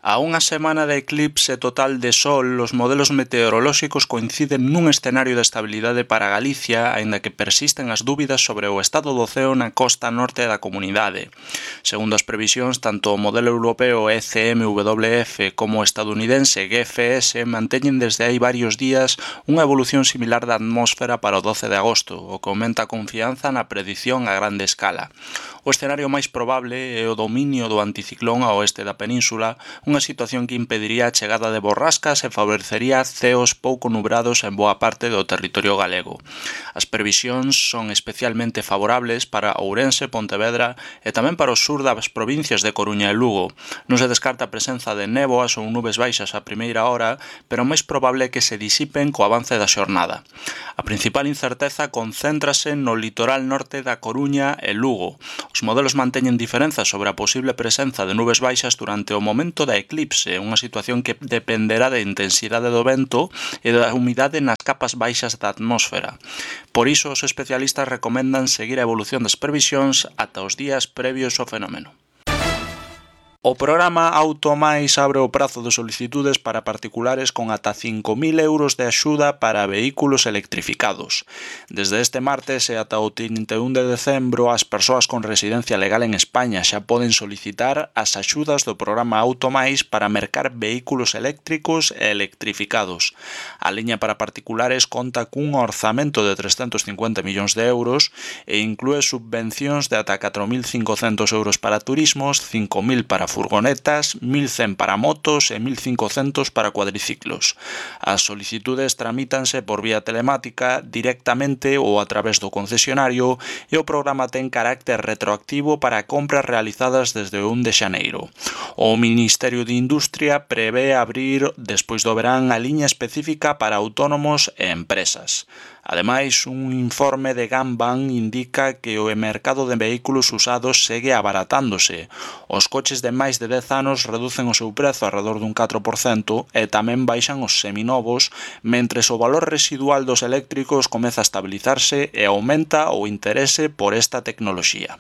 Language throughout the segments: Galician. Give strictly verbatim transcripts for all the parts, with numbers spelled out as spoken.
A unha semana de eclipse total de sol, os modelos meteorolóxicos coinciden nun escenario de estabilidade para Galicia, aínda que persisten as dúbidas sobre o estado do ceo na costa norte da comunidade. Segundo as previsións, tanto o modelo europeo E C M W F como o estadounidense G F S manteñen desde hai varios días unha evolución similar da atmósfera para o doce de agosto, o que aumenta a confianza na predición a grande escala. O escenario máis probable é o dominio do anticiclón ao oeste da península, unha situación que impediría a chegada de borrascas e favorecería ceos pouco nubrados en boa parte do territorio galego. As previsións son especialmente favorables para Ourense, Pontevedra e tamén para o sur das provincias de Coruña e Lugo. Non se descarta a presenza de néboas ou nubes baixas a primeira hora, pero o máis probable é que se disipen co avance da xornada. A principal incerteza concéntrase no litoral norte da Coruña e Lugo. Os modelos manteñen diferenzas sobre a posible presenza de nubes baixas durante o momento da eclipse, unha situación que dependerá da intensidade do vento e da humidade nas capas baixas da atmósfera. Por iso, os especialistas recomendan seguir a evolución das previsións ata os días previos ao fenómeno. O programa Automais abre o prazo de solicitudes para particulares con ata cinco mil euros de axuda para vehículos electrificados. Desde este martes e ata o trinta e un de decembro, as persoas con residencia legal en España xa poden solicitar as axudas do programa Automais para mercar vehículos eléctricos e electrificados. A liña para particulares conta cun orzamento de trescentos cincuenta millóns de euros e inclúe subvencións de ata catro mil cincocentos euros para turismos, cinco mil para furgonetas, mil cen para motos e mil cincocentos para cuadriciclos. As solicitudes tramítanse por vía telemática, directamente ou a través do concesionario e o programa ten carácter retroactivo para compras realizadas desde o un de xaneiro. O Ministerio de Industria prevé abrir, despois do verán, a liña específica para autónomos e empresas. Ademais, un informe de Gamban indica que o mercado de vehículos usados segue abaratándose. Os coches de máis de dez anos reducen o seu prezo alrededor dun catro por cento e tamén baixan os seminovos, mentres o valor residual dos eléctricos comeza a estabilizarse e aumenta o interese por esta tecnoloxía.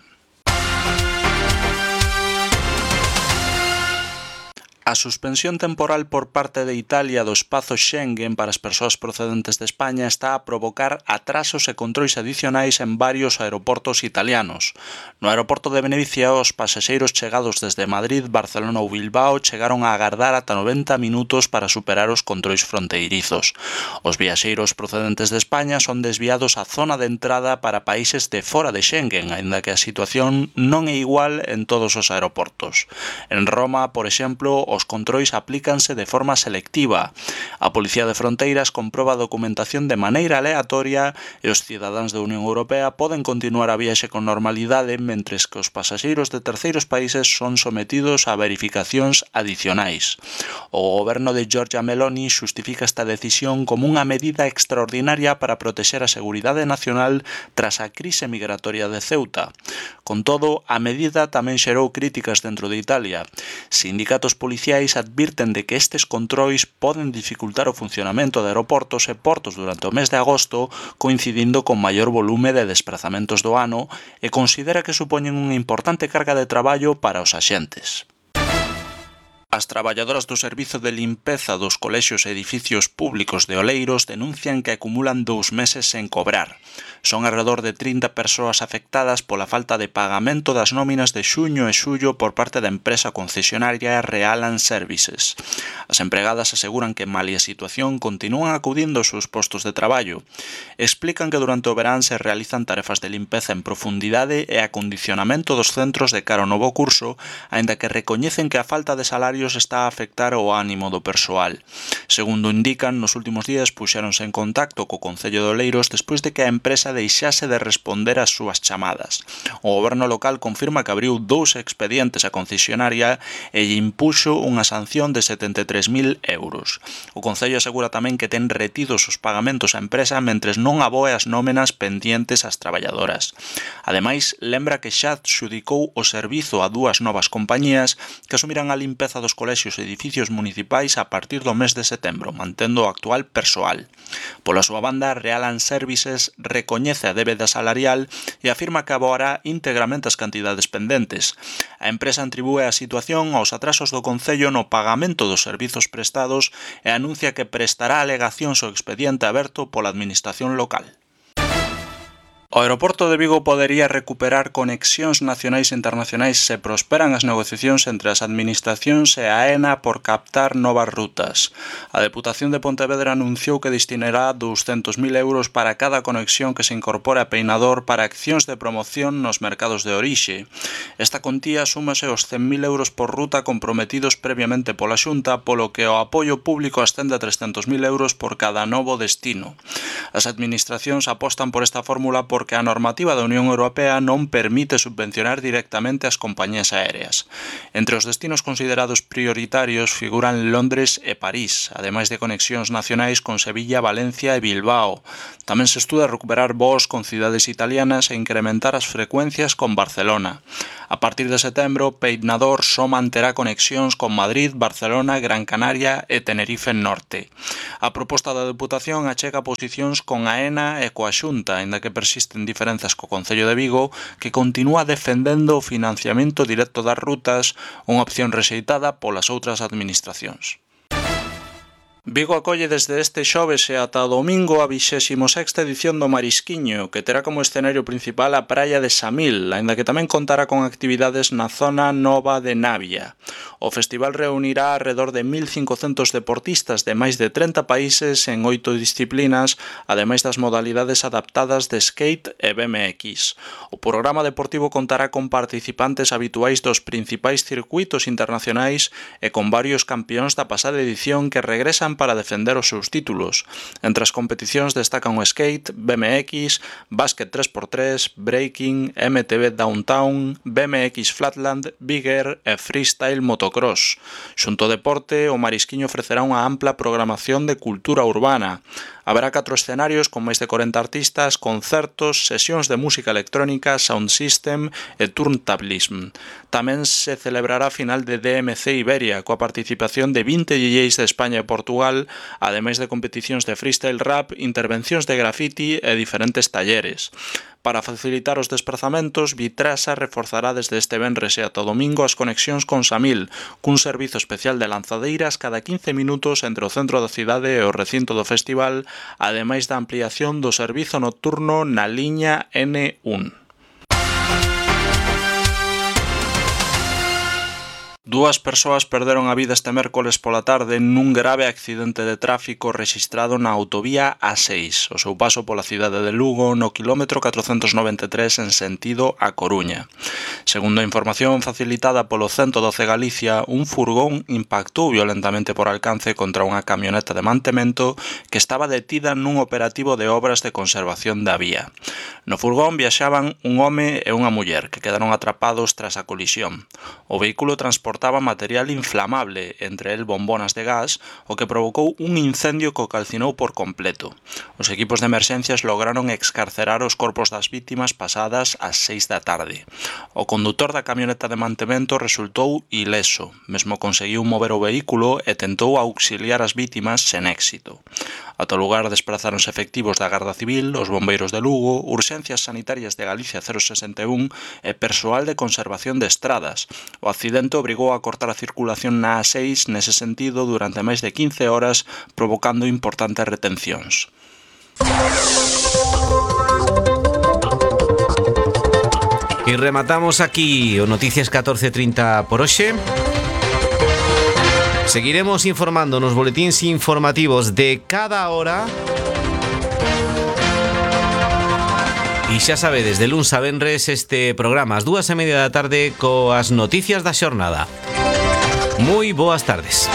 A suspensión temporal por parte de Italia do espazo Schengen para as persoas procedentes de España está a provocar atrasos e controis adicionais en varios aeroportos italianos. No aeroporto de Venecia, os pasaxeiros chegados desde Madrid, Barcelona ou Bilbao chegaron a agardar ata noventa minutos para superar os controis fronteirizos. Os viaxeiros procedentes de España son desviados á zona de entrada para países de fora de Schengen, aínda que a situación non é igual en todos os aeroportos. En Roma, por exemplo, os controis aplícanse de forma selectiva. A Policía de Fronteiras comproba a documentación de maneira aleatoria e os cidadáns da Unión Europea poden continuar a viaxe con normalidade, mentres que os pasaxeiros de terceiros países son sometidos a verificacións adicionais. O goberno de Giorgia Meloni xustifica esta decisión como unha medida extraordinaria para protexer a seguridade nacional tras a crise migratoria de Ceuta. Con todo, a medida tamén xerou críticas dentro de Italia. Sindicatos policiais advirten de que estes controis poden dificultar o funcionamento de aeroportos e portos durante o mes de agosto, coincidindo con maior volume de desplazamentos do ano, e considera que supoñen unha importante carga de traballo para os axentes. As traballadoras do servizo de limpeza dos colexios e edificios públicos de Oleiros denuncian que acumulan dous meses sen cobrar. Son alrededor de trinta persoas afectadas pola falta de pagamento das nóminas de xuño e xullo por parte da empresa concesionaria Realan Services. As empregadas aseguran que, malia a situación, continúan acudindo aos seus postos de traballo. Explican que durante o verán se realizan tarefas de limpeza en profundidade e acondicionamento dos centros de cara ao novo curso, aínda que recoñecen que a falta de salarios está a afectar o ánimo do persoal. Segundo indican, nos últimos días puxéronse en contacto co Concello de Oleiros despois de que a empresa deixase de responder ás súas chamadas. O goberno local confirma que abriu dous expedientes á concesionaria e lle impuxo unha sanción de setenta e tres mil euros. O Concello asegura tamén que ten retidos os pagamentos á empresa mentres non aboe as nómenas pendientes ás traballadoras. Ademais, lembra que xa adxudicou o servizo a dúas novas compañías que asumirán a limpeza dos dos colexios e edificios municipais a partir do mes de setembro, mantendo o actual persoal. Pola súa banda, Realan Services recoñece a débeda salarial e afirma que aboará íntegramente as cantidades pendentes. A empresa atribúe a situación aos atrasos do Concello no pagamento dos servizos prestados e anuncia que prestará alegacións ao expediente aberto pola Administración local. O aeroporto de Vigo podería recuperar conexións nacionais e internacionais se prosperan as negociacións entre as administracións e a AENA por captar novas rutas. A Deputación de Pontevedra anunciou que destinará douscentos mil euros para cada conexión que se incorpore a Peinador para accións de promoción nos mercados de orixe. Esta contía súmase aos cen mil euros por ruta comprometidos previamente pola Xunta, polo que o apoio público ascende a trescentos mil euros por cada novo destino. As administracións apostan por esta fórmula por porque a normativa da Unión Europea non permite subvencionar directamente as compañías aéreas. Entre os destinos considerados prioritarios figuran Londres e París, ademais de conexións nacionais con Sevilla, Valencia e Bilbao. Tamén se estuda recuperar voos con cidades italianas e incrementar as frecuencias con Barcelona. A partir de setembro, Peinador só manterá conexións con Madrid, Barcelona, Gran Canaria e Tenerife Norte. A proposta da Deputación achega posicións con a AENA e coa Xunta, aínda que persisten diferenzas co Concello de Vigo, que continúa defendendo o financiamento directo das rutas, unha opción rexeitada polas outras administracións. Vigo acolle desde este xoves e ata o domingo a vixésima sexta edición do Marisquiño, que terá como escenario principal a praia de Samil, aínda que tamén contará con actividades na zona nova de Navia. O festival reunirá alrededor de mil cincocentos deportistas de máis de trinta países en oito disciplinas, ademais das modalidades adaptadas de skate e B M X. O programa deportivo contará con participantes habituais dos principais circuitos internacionais e con varios campións da pasada edición que regresan para defender os seus títulos. Entre as competicións destacan o skate, B M X, básquet tres por tres, breaking, M T B Downtown, B M X Flatland, Big Air e freestyle motocross. Xunto ao deporte, o Marisquiño ofrecerá unha ampla programación de cultura urbana. Haberá catro escenarios con máis de corenta artistas, concertos, sesións de música electrónica, sound system e turntablism. Tamén se celebrará a final de D M C Iberia, coa participación de vinte D Js de España e Portugal, ademais de competicións de freestyle rap, intervencións de graffiti e diferentes talleres. Para facilitar os desplazamentos, Vitrasa reforzará desde este venres e ata o domingo as conexións con Samil, cun servizo especial de lanzadeiras cada quince minutos entre o centro da cidade e o recinto do festival, ademais da ampliación do servizo nocturno na liña N un. Dúas persoas perderon a vida este mércoles pola tarde nun grave accidente de tráfico rexistrado na autovía A seis, o seu paso pola cidade de Lugo no quilómetro catrocentos noventa e tres en sentido a Coruña. Segundo a información facilitada polo ciento doce Galicia, un furgón impactou violentamente por alcance contra unha camioneta de mantemento que estaba detida nun operativo de obras de conservación da vía. No furgón viaxaban un home e unha muller que quedaron atrapados tras a colisión. O vehículo transportaba material inflamable, entre el bombonas de gas, o que provocou un incendio que o calcinou por completo. Os equipos de emerxencias lograron excarcerar os corpos das vítimas pasadas ás seis da tarde. O condutor da camioneta de mantemento resultou ileso, mesmo conseguiu mover o vehículo e tentou auxiliar as vítimas sen éxito. Ata o lugar desprazáronse efectivos da Garda Civil, os bombeiros de Lugo, Urxencias Sanitarias de Galicia cero sesenta e un e persoal de conservación de estradas. O accidente obrigou a cortar a circulación na A seis nese sentido durante máis de quince horas, provocando importantes retencións. E rematamos aquí o Noticias catorce trinta por hoxe. Seguiremos informando nos boletíns informativos de cada hora. E xa sabedes, de luns a venres este programa ás dúas e media da tarde coas noticias da xornada. Moi boas tardes.